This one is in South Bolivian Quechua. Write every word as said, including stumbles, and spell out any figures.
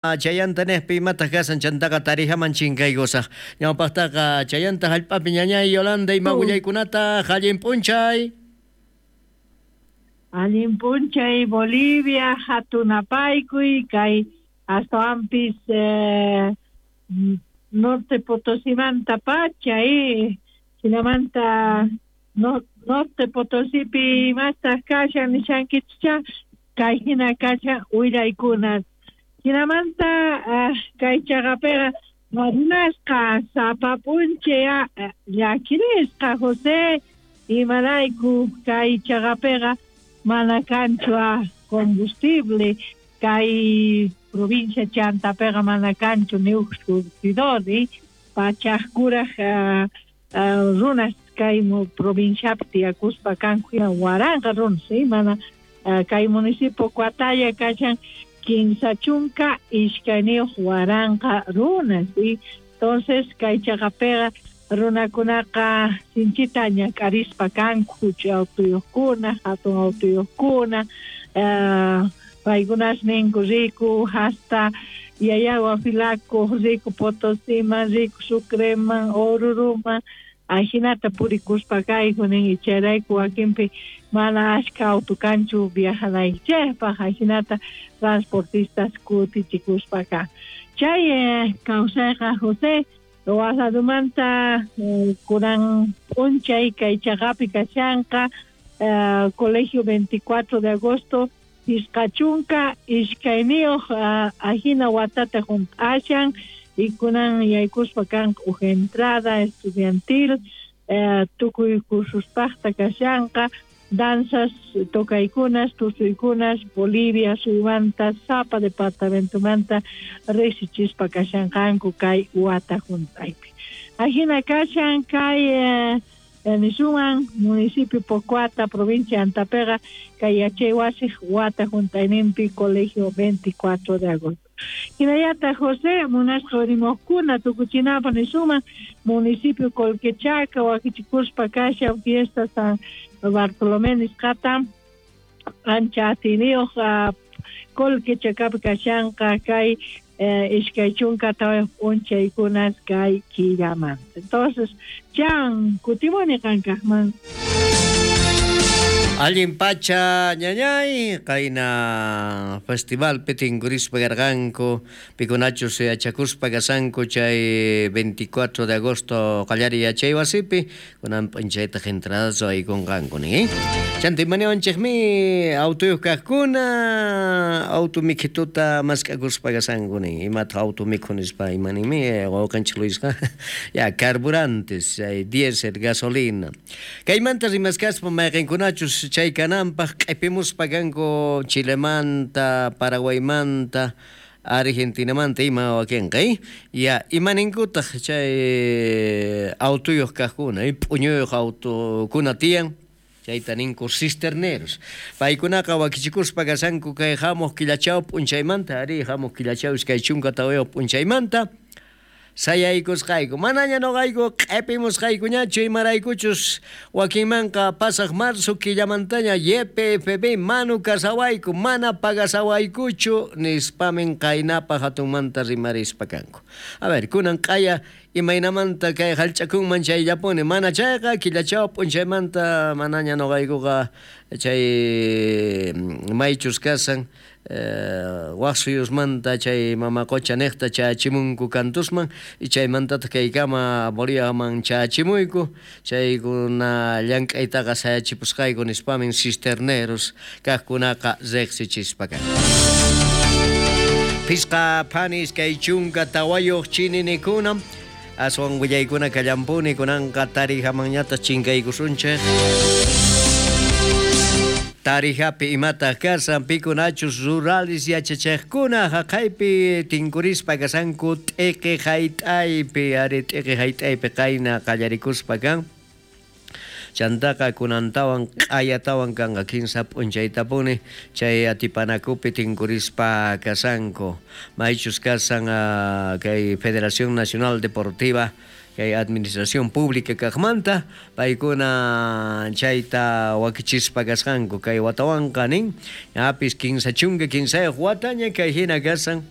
Chayanta nejpi imataq kasan chantaqa tarijaman chinkaykusaq. Ñawpaqtaqa chayanta hallp'api ñañay Yolanda ima willaykunata allin p'unchay. Allin p'unchay Bolivia hatunapaykuy kay astawanpis eh, Norte Potosimanta pacha eh, hinamanta no, Norte Potosipi imastaq kashan nishankichcha kay hina kashan willaykunas. Hinamanta uh, kay chaqapiqa runasqa sapa p'unchay llakirisqa José imarayku kay chaqapiqa mana kanchu combustible kay provincia Chantapiqa mana kanchu ni uj surtidor pachaj kuraj uh, uh, runas kay provinciapi tiyakuspa kanku waranqa runas mana uh, kay municipio Coataya kashan kinsa chunka iskayniyuq waranqa runas y entonces kay chaqapiqa runakunaqa sinchita ñak'arispa kanku huch'uy autuyuqkuna hatun autuyuqkuna uh, paykunas ninku riku hasta Llallagua Filaco riku Potosiman riku Sucreman Oruruman ajinata purikuspa kayku nin chayrayku wakinpi mana ashka auto kanchu viajanaykichikpaq ajinata transportistas kutichikuspa kan. Chay eh, kawsayqa José Oaxacamanta eh, kunan p'unchay kay chaqapi kashanqa eh, Colegio veinticuatro de agosto pisqa chunka iskayniyuq uh, ajina watata hunt'ashan y kunan yaykuspa kanqa uj entrada estudiantil eh, tukuy cursuspaqta kashanqa danzas tocaykunas tusuykunas Bolivia suymanta sapa departamentomanta riqsichispa kashanqanku kay wata hunt'aypi. Ajina kashan kay eh, nisuman municipio Pocoata provincia Antapiqa kay yachay wasiq wata hunt'ayninpi Colegio veinticuatro de agosto. Hinallataq José munasqa urimuqkuna tukuchinapaq nisuman municipio Colquechaca wakichikuspa kashan fiesta San Bartolomé nisqata ancha atiyniyuq uh, Colquechacapi kashanqa kay eh, iskay chunka tawayuq p'unchaykunas kay killamanta. Entonces, chan kutimuni qankaqman. Allin pacha ñañay qayna festivalpi tinkurispa karqanku pikunachus yachakuspa kasanku chay veinticuatro de agosto qallariy yachay wasipi kunan p'unchaytaq entradasu aykunqanku nin. Chanta imaniwanchikmi autuyuq kaqkuna auto mikhituta mask'akuspa kasanku nin imataq auto mikhu nispa imaninmi wawqanchik Luisqa ya carburantes chay diésel gasolina kaymanta rimaskaspa mayqinkunachus chay kananpaq q'ipimuspa kanku Chilemanta, Paraguaymanta, Argentinamanta ima wakinqa ya imaninkutaq chay autuyuq kaqkuna p'uñuyuq autukuna tiyan chayta ninku cisterneros paykunaqa wakichikuspa kasanku kay hamuq killachaw p'unchaymanta ari hamuq killachaw iskay chunka tawayuq p'unchaymanta sayaykusqayku manaña noqayku q'ipimusqaykuñachu imaraykuchus wakinmanqa pasaq marzo killamantaña Y P F B manu kasawayku mana pagasawaykuchu nispamin qaynapaq hatunmanta rimarispa kanku. A ver, kunan q'aya imaynamanta kay hallch'akunman chayllapuni mana chayqa killachaw p'unchaymanta manaña noqaykuqa chay maychus kasan Eh, waq suyusmanta chay mama qocha niqta chachimunku kantusman y chaymantataq kaykama Boliviaman chachimuyku chaykuna llank'aytaqa sayachipusqayku nispamin cisterneros kaqkunaqa riqsichispa kanku. Pisqa phani iskay chunka tawayuq chininikuna aswan willaykuna kallampuni kunanqa tarijamanñataq chinkaykusunchik. Tarijapi imataq kasan pikunachus rurales yachachiqkuna haqaypi tinkurispa kasanku t'iqi hayt'aypi ari t'iqi hayt'aypi qayna qallarikuspa kan chantaqa kunantawan q'ayatawan kanqa kinsa p'unchaytapuni chay atipanakupi tinkurispa kasanku maychus kasan uh, kay Federación Nacional Deportiva Kay administración pública kaqmanta paykuna chayta wakichispa kasqanku kay watawanqa nin ñapis kinsa chunka kinsayuq wataña kay hina kasan.